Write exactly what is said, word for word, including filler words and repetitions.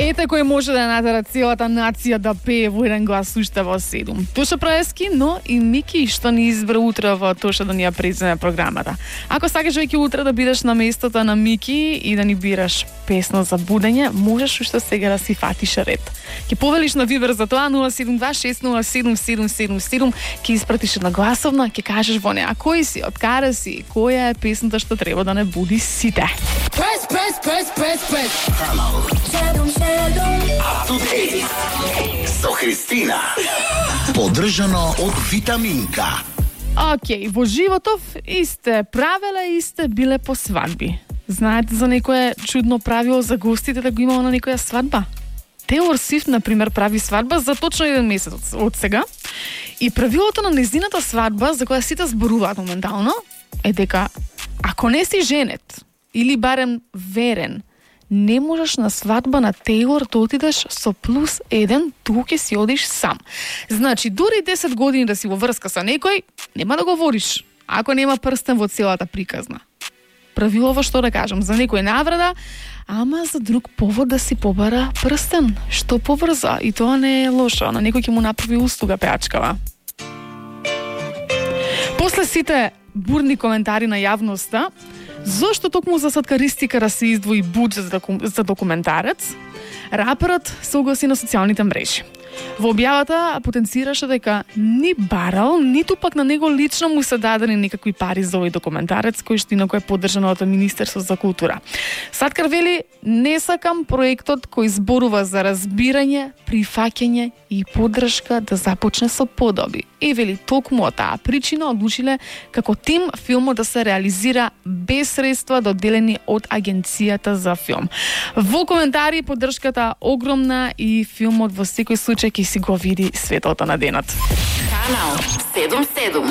Ете кој може да натера целата нација да пее во еден глас уште во седум. Тоша Проески, но и Мики што ни избра утре во Тоша да ни ја преземе програмата. Ако сакаш веќе утре да бидеш на местото на Мики и да ни бираш песна за будење, можеш уште сега да си фатиш ред. Ќе повелиш на Вибер за тоа нула седум два шест нула седум седум седум седум, ќе испратиш една гласовна, ќе кажеш во неа кој си, од каде си, која е песната што треба да не буди сите. Press, press, press, press, press. Седум, седум. Up to date со Христина. Поддржано од Витаминка. Океј, во животов исте правила исте биле по свадби. Знаете за некое чудно правило за гостите да го имало на некоја свадба? Тейлор Свифт, например, прави свадба за точно еден месец од сега. И правилото на нејзината свадба, за која сите зборуваат моментално, е дека ако не си женет, или барем верен, не можеш на свадба на Тейлор да отидеш со плюс еден, туку ќе си одиш сам. Значи, дури десет години да си во врска со некој, нема да го водиш, ако нема прстен во целата приказна. Правилово што да кажам, за некој наврада, ама за друг повод да си побара прстен, што поврза, и тоа не е лошо, на некој ќе му направи услуга пеачкава. После сите бурни коментари на јавноста, зошто токму за саткаристика да се издвои буџет за, доку... за документарец, раперот се огласи на социјалните мрежи. Во објавата потенцираше дека ни барал, ниту пак на него лично му се дадени некакви пари за овој документарец, кој што инаку е поддржан од Министерство за култура. Саткар вели, не сакам проектот кој зборува за разбирање, прифаќање и поддршка да започне со подоби. И вели, токму од таа причина одлучиле како тим филмот да се реализира без средства доделени од Агенцијата за филм. Во коментари поддршката огромна и филмот во секој случај ќе си го види светлото на денот. Канал седум седум.